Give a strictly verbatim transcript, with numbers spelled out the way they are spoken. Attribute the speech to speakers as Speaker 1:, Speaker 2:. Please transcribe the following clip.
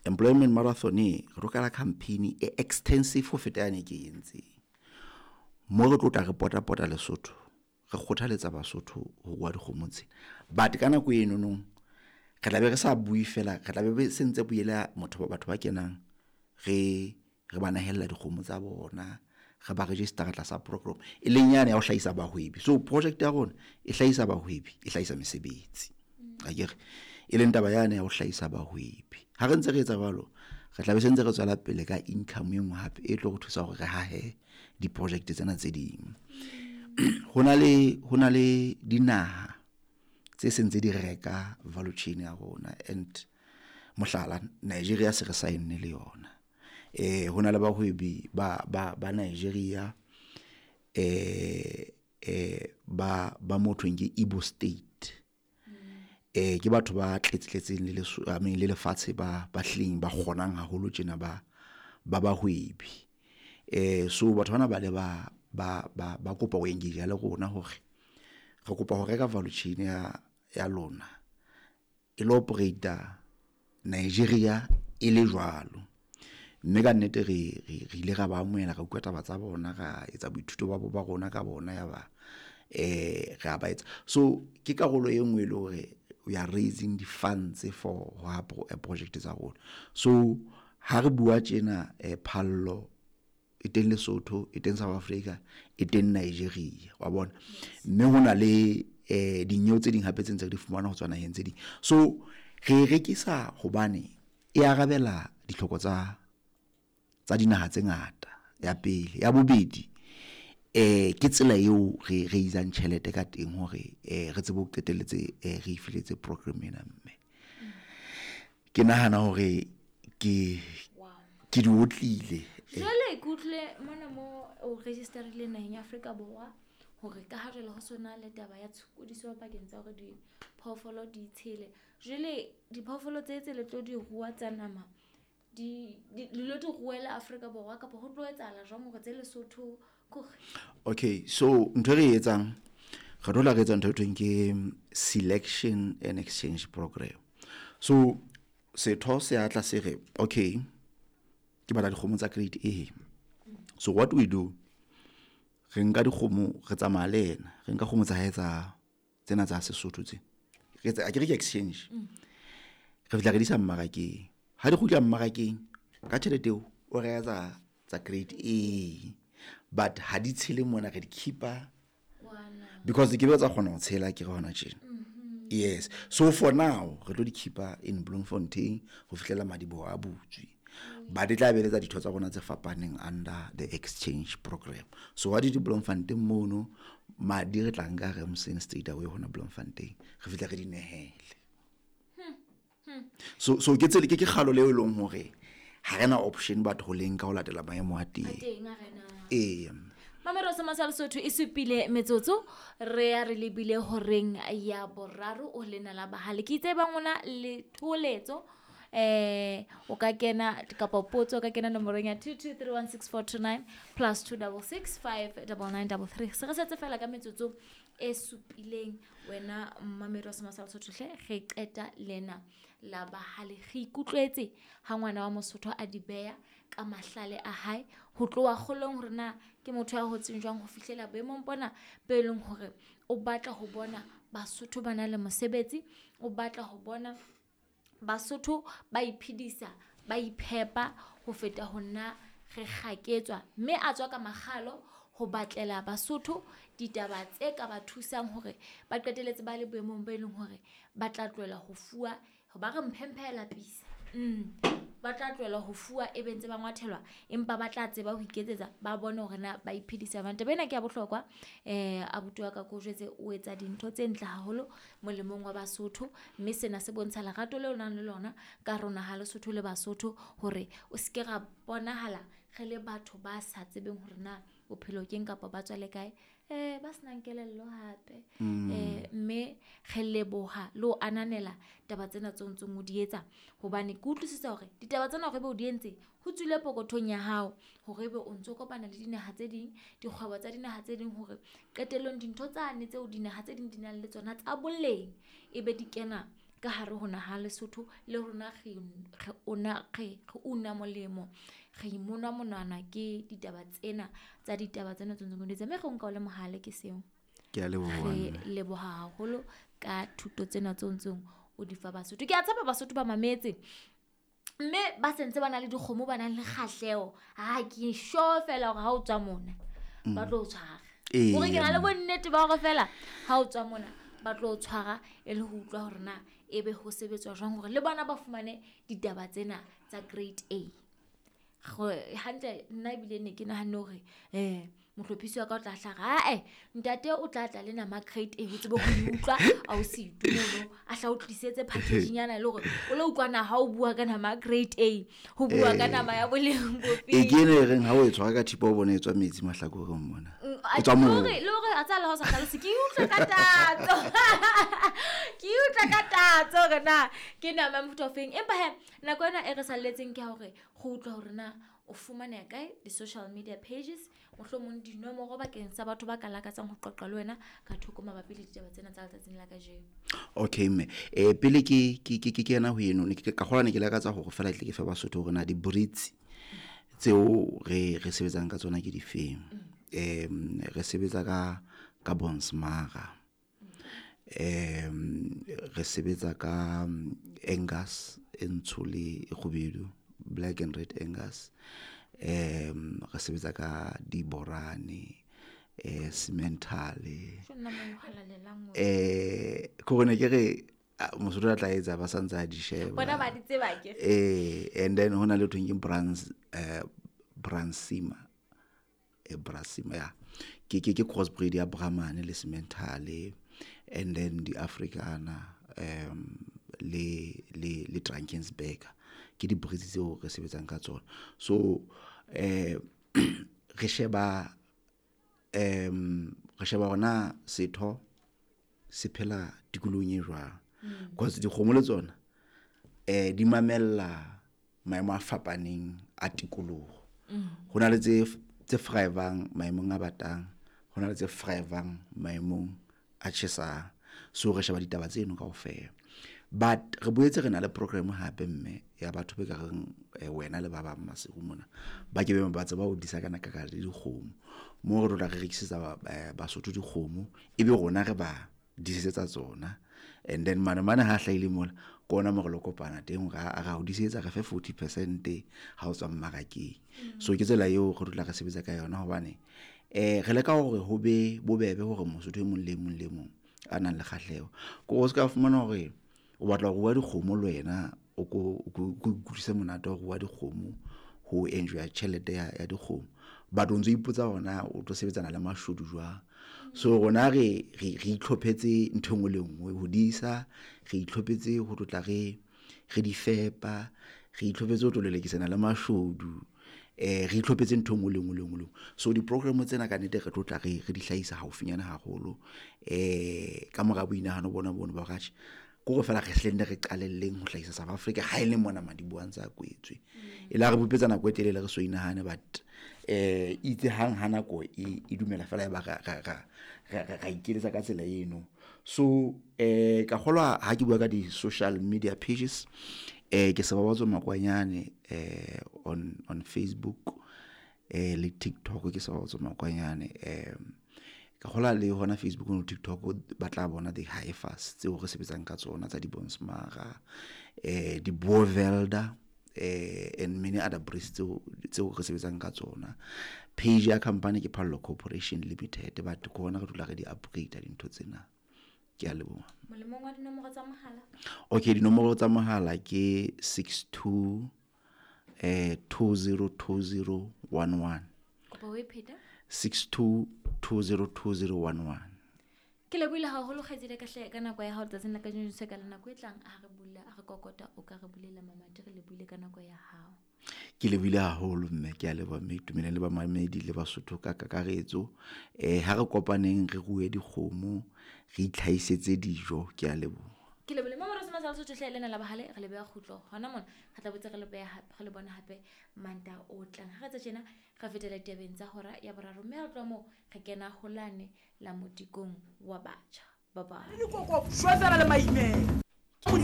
Speaker 1: Employment marathon e re tlo qala campaign e extensive ho feta yane ke e entseng. Mo re tlo tla re pota-pota Lesotho, re kgothaletsa Basotho ho rua dikgomo tsena. But ka nako eno nong re tla be re sa bue fela, re tla be se ntse buela motho batho ba kenang re re ba nehella dikgomo tsa bona, re ba register tlasa program e leng yane ya ho hlahisa bahwebi. So project ya rona e hlahisa bahwebi, e hlahisa mesebetsi. Akere e leng taba yane ya ho hlahisa bahwebi. Ha re ntse re etsa jwalo, re tla be se ntse re tswela pele ka income e nngwe hape e tlo re thusa hore re hahe di-project tsena tse ding. Ho na le ho na le dinaha tse sentse di reka value chain ya rona and mohlala Nigeria se re sign-ne le yona. Eh ho na le bahwebi ba ba ba Nigeria eh eh ba ba mo thweng ke Igbo State. Eh ke batho ba tletse-tletseng le leso I mean le lefatshe ba ba hlileng ba kgonang haholo tjena ba ba bahwebi. Eh so batho bana ba le ba ba ba ba kopa ho engage le rona hore re kopa ho reka value chain ya ya lona e lo operate Nigeria e le jwalo. Mme ka nnete re re re ile ra ba amohela, ra utlwa taba tsa bona, ra etsa boithuto ba ba rona ka bona ya ba eh ra ba etsa. So ke karolo e nngwe e le hore we are raising the funds for ho ha project tsa rona. So ha re bua tjena eh phallo e teng Lesotho, e teng South Africa, e teng Nigeria wa bona. Mme hona le eh dinyewe tse ding hape tse ntse re di fumana ho tswa naheng tse ding. So re e rekisa hobane e arabela ditlhoko tsa tsa dinaha tse ngata ya pele. Ya bobedi eh ke tsela eo re raise-ang tjhelete ka teng hore eh re tsebe ho qetelletse eh re ifiletse program ena mme. Ke nahana hore ke ke di otlile.
Speaker 2: Jwale ke utlwile mona mo o register-ile naheng ya Afrika Borwa hore ka ha jwale ho sona le taba ya tshokodiso pakeng tsa hore diphoofolo di tshele. Jwale diphoofolo tse tse le tlo di rua tsa nama di le lo di ruela Afrika Borwa kapa ho tlo etsahala jwang hore tse Lesotho kore?
Speaker 1: Okay, so ntho e re e etsang re tlo la re etsa ntho e thweng ke selection and exchange program. So setho se a tla se re okay ke batla dikgomo tsa grade A. So what we do, re nka dikgomo re tsamaya le yena, re nka kgomo tsa hae tsa tsena tsa Sesotho tse. Re etsa akere ke exchange. Re fihla re di isa mmarakeng. Ha di kgutla mmarakeng ka tjhelete eo o reka tsa tsa grade A. But ha di tshele mona re di keep-a because di ke be tsa kgona ho tshela akere hona tjena. Yes. So for now re tlo di keep-a in Bloemfontein ho fihlela madiboho a butswe. But e tla beletsa ditho tsa rona tse fapaneng under the exchange program. So ha di di Bloemfontein mono madi re tla nka Remsen straight away hona Bloemfontein re fihla re di nehele. So so ke tsele ke ke kgalo leo e leng hore ha rena option but ho leng ka ho latela maemo a teng.
Speaker 2: A teng a rena.
Speaker 1: Ee.
Speaker 2: Mamelo sa Masala Sotho e supile metsotso re ya re lebile horeng ya boraro o lena la bahale. Ke itse ba ngona le tholetso eh o ka kena kapa potso o ka kena nomorong ya two two three one six four two nine plus two double six five double nine double three. Se re setse fela ka metsotso e supileng wena mmamedi wa Sema sa Lesotho hle re qeta lena la bahale. Re ikutlwetse ha ngwana wa Mosotho a di beya ka mahlale a hae ho tloha kgolong hore na ke motho ya hotseng jwang ho fihlela boemong bona bo e leng hore o batla ho bona Basotho ba na le mosebetsi, o batla ho bona Basotho ba iphedisa, ba iphepa ho feta ho nna re kgaketswa. Mme a tswa ka makgalo ho batlela Basotho ditaba tse ka ba thusang hore ba qetelletse ba le boemong bo e leng hore ba tla tlohela ho fuwa, ba re mphemphe lapisa. Mm. Ba tla tlohela ho fuwa e be ntse ba ngwathelwa empa ba tla tseba ho iketsetsa ba bone hore na ba iphedisa jwang. Taba ena ke ya bohlokwa. Eh abuti wa ka ko jwetse o etsa dintho tse ntle haholo molemong wa Basotho mme sena se bontsha lerato leo o nang le lona ka rona ha Lesotho le Basotho hore o se ke ra bonahala re le batho ba sa tsebeng hore na bophelo keng kapa ba tswa le kae eh ba senang kelello hape. Eh mme re leboha le ho ananela taba tsena tseo ntseng o di etsa hobane ke utlwisisa hore ditaba tsena hore ebe o di entse ho tswile pokothong ya hao hore ebe o ntso kopana le dinaha tse ding, dikgwebo tsa dinaha tse ding hore qetellong dintho tsane tseo dinaha tse ding di nang le tsona tsa boleng ebe di kena ka hare ho naha Lesotho le rona re re una re re una molemo re imonwa monwana ke ditaba tsena tsa ditaba tsena tse ntseng di mme re nka o le mohale ke seo.
Speaker 1: Ke a leboha.
Speaker 2: Re leboha haholo ka thuto tsena tse ntseng o di fa Basotho. Ke a tshepa Basotho ba mametse mme ba sentse ba na le dikgomo, ba nang le kgahleho. Ha ke sure fela hore ha o tswa mona ba tlo o tshwara. Hore ke na le bonnete ba hore fela ha o tswa mona ba tlo o tshwara e le ho utlwa hore na ebe ho sebetswa jwang hore le bona ba fumane ditaba tsena tsa grade A. Hantle nna ebile ne ke nahanne hore eh mohlophisi wa ka o tla hlaha, ae ntate o tla tla le nama grade A o tsebe ho utlwa a o se itumono a hla o tlisetse package nyana le hore o lo utlwa na ha o bua ka nama grade A ho bua ka nama ya boleng bo
Speaker 1: e ke ene reng ha o e tshwara ka thipa o bona e tswa metsi mahlakoreng mona e tswa moo
Speaker 2: le hore a tsala ha o sa hlalose ke utlwa ka tatso ke utlwa ka tatso hore na ke nama ya mofuta ofeng. Empa he nako ena e re salletseng ke hore go utlwa hore na o fumaneha kae di-social media pages, mohlomong dinomoro bakeng sa batho ba ka lakatsang ho qoqa le wena ka thoko mabapi le ditaba tsena tsa letsatsing la kajeno.
Speaker 1: Okay mme eh pele ke ke ke ke kena ho eno ne ke ka kgola ne ke lakatsa hore fela tle ke fe Basotho hore na di-breeds tseo re re sebetsang ka tsona ke difeng. Em re sebetsa ka ka Bonsmara, em re sebetsa ka Angus e ntsho le e kgubedu, black and red Angus, em re sebetsa ka diborane, eh sementale eh ko ne ke re Mosotho a tla etsa ba santse a di sheba
Speaker 2: bona ba di tseba ke
Speaker 1: eh and then hona le thong ke brands eh Bransima e Brasima ya ke ke ke crossbreed ya Brahman le sementale and then di Africana um le le le Drakensberg ke di breeds tseo re sebetsang ka tsona. So eh re sheba em re sheba hona setho se phela tikolohong e jwang, because dikgomo le tsona eh di mamella maemo a fapaneng a tikoloho. Ho na le tse tse thrivang maemong a batang, ho na le tse thrivang maemong a tjhesang. So re sheba ditaba tseno kaofela. But re boetse re na le program hape mme ya batho be ka reng wena le ba bang Maseru mona ba ke be ba tseba ho disa kana ka ka le dikgomo mo re tla re rekisetsa Basotho dikgomo ebe rona re ba disetsa tsona and then mane mane ha hlaile mola ke ona mo re lo kopana teng ra ra o disetsa re fe forty percent ha o tswa mmarakeng. So ke tsela eo re dula re sebetsa ka yona hobane eh re leka hore ho be bobebe hore Mosotho e mong le mong le mong a nang le kgahleho ko o ska fumana hore o batla ho rua dikgomo le wena o ko o kutlwise monate wa ho rua dikgomo ho enjoy tjhelete ya ya dikgomo but o ntso ipotsa hona o tlo sebetsana le mashodu jwang. So rona re re re itlhophetse ntho engwe le nngwe ho disa, re itlhophetse ho tlotla re re di fepa, re itlhophetse ho tlo lelekisana le mashodu, eh re itlhophetse ntho engwe le nngwe le nngwe le nngwe. So di-program tsena ka nnete re tlotla re re di hlahisa haufinyana haholo eh ka mora boinahano bona bono ba hore ko re fela re hlenne re qalelleng ho hlahisa South Africa ha e le mona madiboho a ntse a kwetswe. E la re bopetsa nako e telele re so inahane but eh itse hang ha nako e e dumela fela e ba ra ra ra ra ikeletsa ka tsela eno. So eh ka kgolwa ha ke bua ka di social media pages eh ke Sebabatso Makwanyane eh on on Facebook eh le TikTok ke Sebabatso Makwanyane eh ka kgola le hona Facebook le TikTok ba tla bona di heifers tseo re sebetsang ka tsona tsa di Bonsmara eh di Bovelda eh and many other breeds tseo tseo re sebetsang ka tsona. Page ya company ke Phallo Corporation Limited but ke hona re dula re di upgrade dintho tsena. Ke a leboha.
Speaker 2: Molemong wa dinomoro tsa mohala.
Speaker 1: Okay, dinomoro tsa mohala ke six two eh two zero two zero one one.
Speaker 2: Kopa o e pheta?
Speaker 1: six two two zero two zero one one.
Speaker 2: Ke lebohile haholo kgaitsedi ka hle ka nako ya hao letsatsing la kajeno se ka le nako e tlang a re bula a re kokota o ka re bulela mamati re lebohile ka nako ya hao.
Speaker 1: Ke lebohile haholo mme ke a leboha mme itumeleng le bamamedi le Basotho ka kakaretso. Eh ha re kopaneng re rue dikgomo re itlhaisetse dijo ke a leboha.
Speaker 2: Ke lebohile mama re sema sa Lesotho hle lena la bahale re le beha kgutlo hona mona re tla botse re le beha hape re le bona hape manta o tlang ha re tsa tjena re fetela ditabeng tsa hora ya boraro mme re tloha moo re kena holane la modikong wa batjha. Bye bye.
Speaker 3: Dikoko shwa fela le maimela.